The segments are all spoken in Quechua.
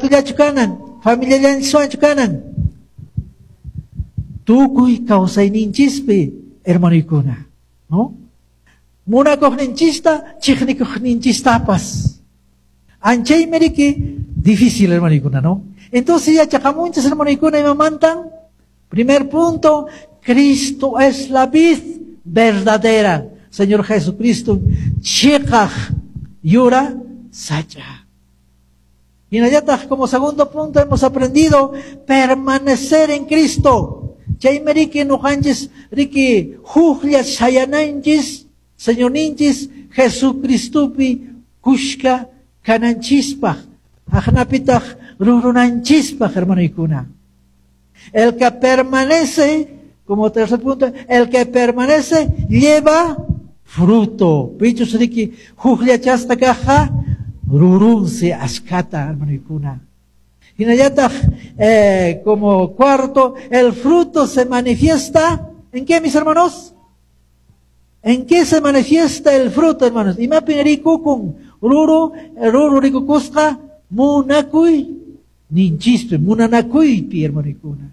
ratullachu kanan, familiallanchiswanchu kanan. Tukuy kawsayninchispi, hermanoykuna, ¿no? Munakuqninchista, chiqnikuqninchistapas. Anchaymi riki difícil, hermanoykuna, ¿no? Entonces yachaqamunchis, hermanoykuna, imamantan? Primer punto, Cristo es la vid verdadera. Señor Jesucristo, chiqaq yura sacha. Hinallataq, como segundo punto, hemos aprendido permanecer en Cristo. Chaymi riki nuqanchis riki huklla sayananchis, Señorninchis Jesucristopi kushka kananchispaq, aqnapitaq rurunanchispaq, hermanoykuna. El que permanece, como tercer punto, el que permanece lleva fruto. Pichus riki hukllachasqa kaqqa rurunsi ashkata, hermanoykuna. Hinallataq, como cuarto, el fruto se manifiesta, ¿en qué, mis hermanos? ¿En qué se manifiesta el fruto, hermanos? Imapin rikukun ruru, ruru rikukusqa munakuy ninchispi, munanakuypi, hermanoykuna.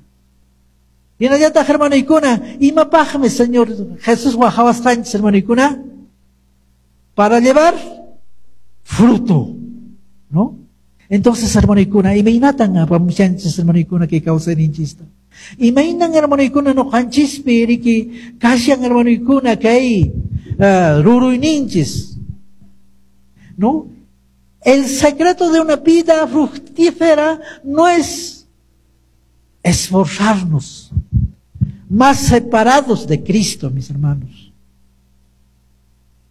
Hinallataq, hermanoykuna, imapaqmi Señor Jesús wajawasqanchis, hermanoykuna? Para llevar fruto, ¿no? Entonces, hermanoykuna, imaynatan apamushanchis, hermanoykuna, kay kawsayninchista? Imaynan, hermanoykuna, nuqanchispi riki kashan, hermanoykuna, kay ruruyninchis, ¿no? El secreto de una vida fructífera no es esforzarnos más separados de Cristo, mis hermanos.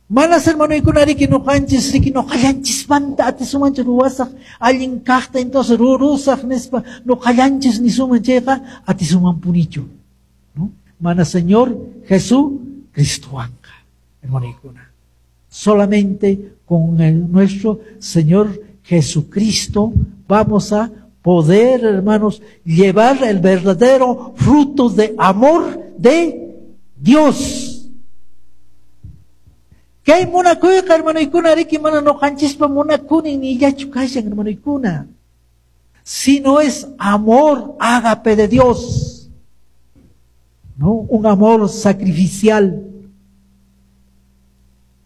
Manas, hermanoykuna, riki nuqanchis riki nuqallanchismanta atisumanchu ruwasaq allin kaqta, entonces rurusaq nispa nuqallanchis nisuman chayqa atisumanpunichu, ¿no? Mana Señor Jesucristowanqa, hermanoykuna. Solamente con nuestro Señor Jesucristo vamos a poder, hermanos, llevar el verdadero fruto de amor de Dios. Kay munakuyqa, hermanoykuna, riki mana nuqanchispa munakuni nillachu kashan, hermanoykuna, sino es amor ágape de Dios, ¿no? Un amor sacrificial,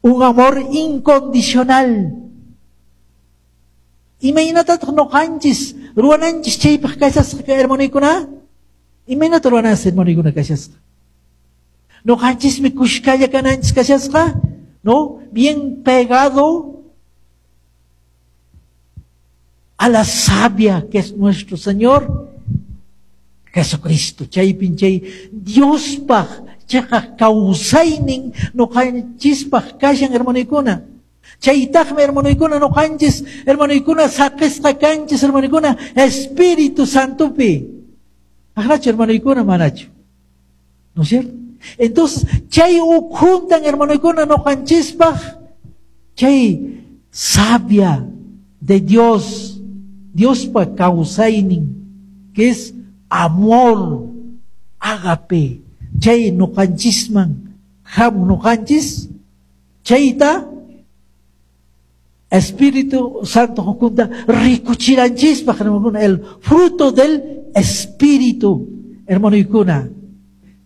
un amor incondicional. Imaynatataq nuqanchis ruwananchis chaypaq kashasqa, hermanoykuna? Imaynata ruwananchis, hermanoykuna, kashasqa? Nuqanchismi kushkalla kananchis kashasqa, ¿no? Bien pegado a la savia que es nuestro Señor Jesucristo. Chaypin chay Diospaq chiqaq kawsaynin nuqanchispaq kashan, hermanoykuna. Chaytaqmi, hermanoykuna, nuqanchis, hermanoykuna, saqisqa kanchis, hermanoykuna, Espíritu Santopi. Aqnachu, hermanoykuna, manachu? ¿No es cierto? Entonces, chay ukhuntan, hermanoykuna, nuqanchispaq chay savia de Dios, Diospa kawsaynin, que es amor, ágape, chay nuqanchisman ham nuqanchis, chayta Espíritu Santo ukhunta rikuchiranchispaq, hermanokuna, el fruto del Espíritu, hermanoykuna.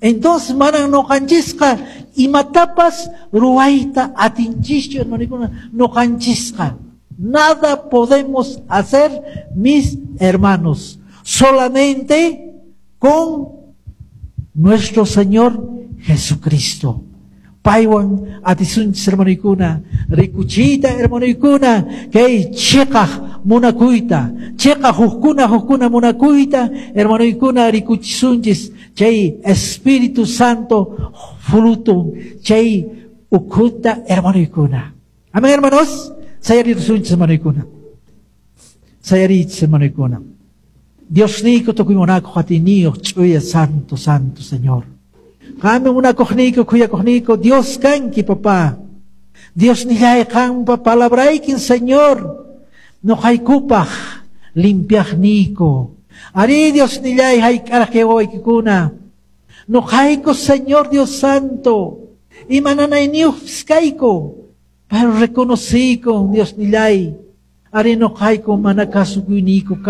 Entonces, manan nuqanchisqa imatapas ruwayta atinchischu, hermanoykuna, nuqanchisqa. Nada podemos hacer, mis hermanos, solamente con nuestro Señor Jesucristo. Paywan atisunchis, hermanoykuna, rikuchiyta, hermanoykuna, kay chiqaq munakuyta, chiqaq hukkuna hukkuna munakuyta, hermanoykuna, rikuchisunchis chay Espíritu Santo fruto, chay ukhunta, hermanoykuna. Amén, hermanos. Sayarisunchis, hermanoykuna. Sayarichis, hermanoykuna. Diosniyku tukuy munakuq atiyniyuq ch'uya santo, santo Señor. Qammi munakuqniyku, khuyakuqniyku, Dios kanki, papá. Dios nillay qampa palabraykin, Señor, nuqaykupaq limpiaqniyku. Ari, Dios nillay hayk'araq kay wawaykikuna. Nuqayku, Señor Dios Santo, imananayniyuqpis kayku, pero reconociyku, Dios nillay, ari nuqayku mana kasukuyniyku.